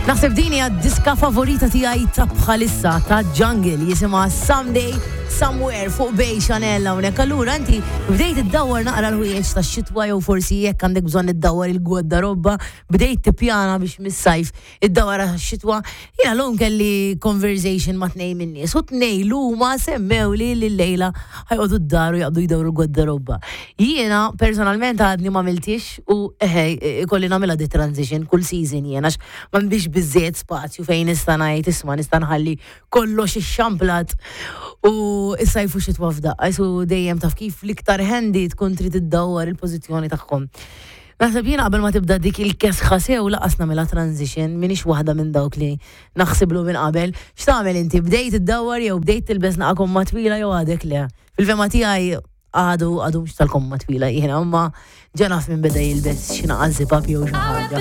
Naħseb din hija diska favorita tiegħi ta' bħalissa ta' Jungle jisimha Someday Somewhere fuq Bay Chanel hawnhekk. Allura inti bdejt iddawwar naqra l-ħwejjeġ tax-xitwa jew forsi jekk għandek bżonn iddawwar il-gwardarobba, bdejt tippjana biex mis-sajf iddawwar għax-xitwa. Jiena llum kelli conversation ma' tnejn min-nies u tnejn huma semmewli li llejla ħa joqogħdu d-dar u jaqbdu jdawru l-gwardarobba. Jiena personalment għadni m'għamiltix u eħe ikolli nagħmilha di transition kull season jien għax m'għandix biżżejjed spazju fejn nista' ngħid isma' nista' nħalli kollox ixxamplat u s-sajf u xitwa f'daqqa. Isu dejjem taf kif l-iktar handy tkun trid iddawwar il-pożizzjoni tagħhom. Naħseb jiena qabel ma tibda dik il-kesħa sew laqas nagħmilha transition, m'iniex waħda minn dawk li naħsiblu minn qabel. X'tagħmel inti? Bdejt iddawwar jew bdejt tilbes naqa' komma twila jew għadek le? Fil-fehma tiegħi għadu għadu mhux tal-komma twila jiena, imma ġa naf min beda jilbes xi naqa' zip up jew xi ħaġa.